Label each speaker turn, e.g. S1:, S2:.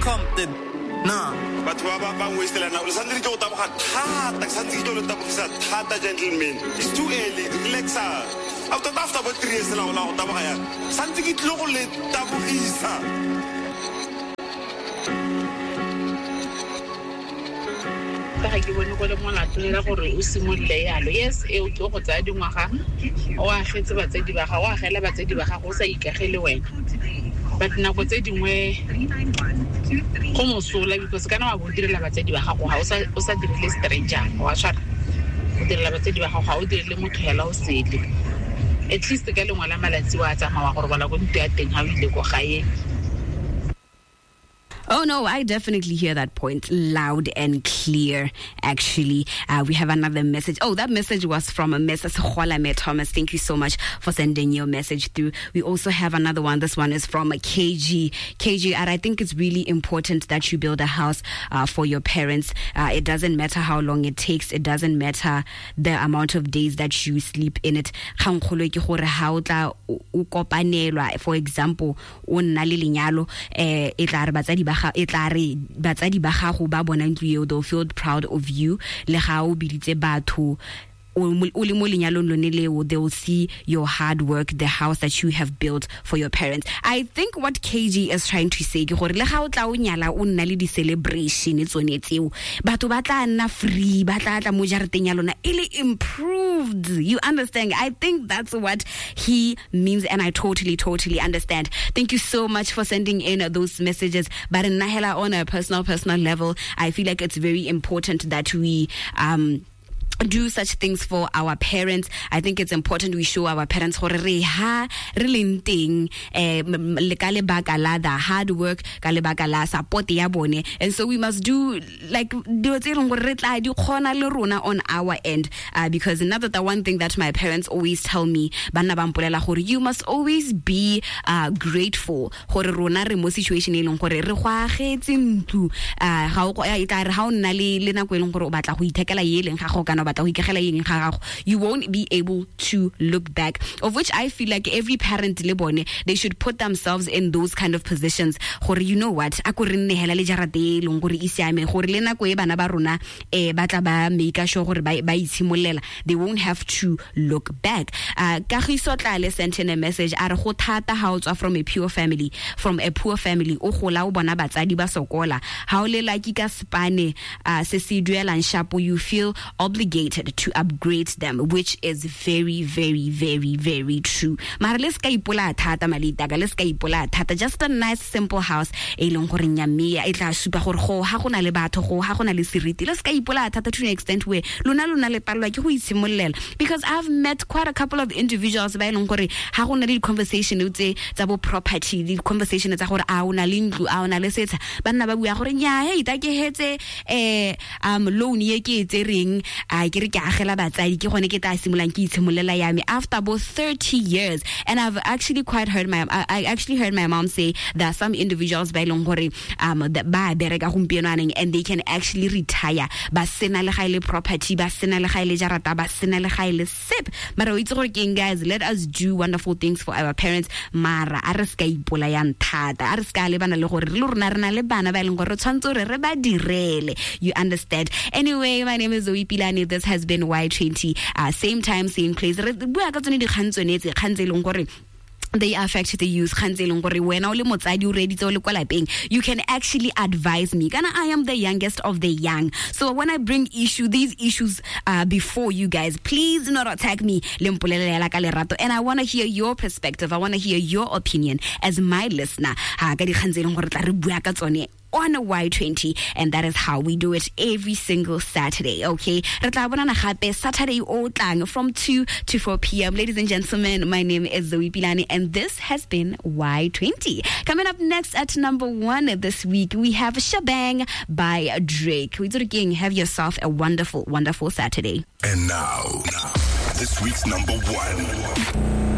S1: Compton. Nah.
S2: Batho ba ba wastela nako. Le santse ke tlo go taboga thata, ke santse ke tlo le tabogisa thata, gentlemen. It's too early, relaxa. After bo 3 years la go taboga yang. Santse ke tlo go le tabogisa.
S3: Ga ke bone go le molato le gore o simolole yalo. Yes, eo ke go tsaya dingwaga, o agetse batsadi ba gago, o agela batsadi ba gago, o sa ikagele wena. But nako tse dingwe go mosola, because kana wa bo direla batsadi ba gago, ga o sa dirile stranger, wa tshwara. O direla batsadi ba gago, ga o dirile motho hela o sele. At least ka lengwe la malatsi wa tsamaya wa go robala ko ntlo ya teng ha o ile ko gae.
S4: Oh, no, I definitely hear that point loud and clear, actually. We have another message. Oh, that message was from Mrs. Kgolame Thomas. Thank you so much for sending your message through. We also have another one. This one is from KG. KG, and I think it's really important that you build a house for your parents. It doesn't matter how long it takes. It doesn't matter the amount of days that you sleep in it. Kgang kgolo ke gore ha o tla o kopanelwa, for example, o nna le lenyalo, e tla re batsadi ba e tla re batsadi ba gago ba bona ntlo eo, they'll feel proud of you. Le ga o biditse batho o le mo lenyalong lone leo, they will see your hard work, the house that you have built for your parents. I think what KG is trying to say ke gore le ga o tla o nyala o nna le di-celebration tsone tseo, batho ba tla nna free, ba tla tla mo jarateng ya lona e le improved. You understand? I think that's what he means, and I totally, totally understand. Thank you so much for sending in those messages. But nna hela on a personal level, I feel like it's very important that we do such things for our parents. I think it's important we show our parents gore re ha re leng teng, le ka lebaka la the hard work, ka lebaka la support ya bone. And so we must do like dilo tse e leng gore re tla di kgona le rona on our end, because another the one thing that my parents always tell me, banna ba mpolela gore you must always be grateful gore rona re mo situation e leng gore re go agetse ntlo, ga o e tla re ha o nna le nako e leng gore o batla go ithekela ye leng ga go kana batla go ikagela eng ga gago, you won't be able to look back. Of which I feel like every parent le bone, they should put themselves in those kind of positions gore you know what, a ko re nne hela le jarate e leng gore e siame, gore le nako e bana ba rona ba tla ba make sure gore ba itshimolela, they won't have to look back. Kagiso Tlale sent in a message, a re go thata ha o tswa from a poor family, o gola o bona batsadi ba sokola, ha o le lucky ka spane se se duelang shapo, you feel obligated to upgrade them, which is very, very, very, very true. Mara le ska ipola thata malitaka, le ska ipola thata. Just a nice simple house e leng gore nyamia e tla supa gore go ha gona le batho, go ha gona le seriti. Le ska ipola thata to an extent where lona le palelwa ke go itshimollela. Because I've met quite a couple of individuals ba e leng gore ha gona le conversation tse tsa bo property, di conversation tsa gore a ona le ntlo, a ona le setsha, ba nna ba bua gore nya hey ta ke hetse loan ye ke e tsereng, a ke re ke agela batsadi, ke gone ke tla simolang ke itshimolela ya me after about 30 years. And I've actually quite heard my I actually heard my mom say that some individuals ba ileng gore ba bereka gompieno aneng, and they can actually retire ba sena le ga ile property, ba sena le ga ile jarata, ba sena le ga ile sep. Mara o itse gore keng guys, let us do wonderful things for our parents. Mara a re ska ipolayang thata, a re ska lebana le gore re le rona re na le bana ba ileng gore re tshwantse gore re ba direle. You understand? Anyway, my name is Zoe Pilane. This has been Y20. Same time, same place. Re bua ka tsone dikgang tsone tse, kgang tse e leng gore they affect the youth, kgang tse e leng gore wena o le motsadi o reeditse o le kwa lapeng, you can actually advise me. Kana I am the youngest of the young. So when I bring these issues before you guys, please do not attack me. Le mpolelela ka lerato. And I want to hear your perspective. I want to hear your opinion as my listener. Ha ka dikgang tse e leng gore tla re bua ka tsone on Y20, and that is how we do it every single Saturday, okay? Re tla bonana gape Saturday o tlang from 2 to 4 p.m. Ladies and gentlemen, my name is Zoe Pilane, and this has been Y20. Coming up next at number 1 this week, we have Shabang by Drake. Have yourself a wonderful, wonderful Saturday.
S5: And now, this week's number 1.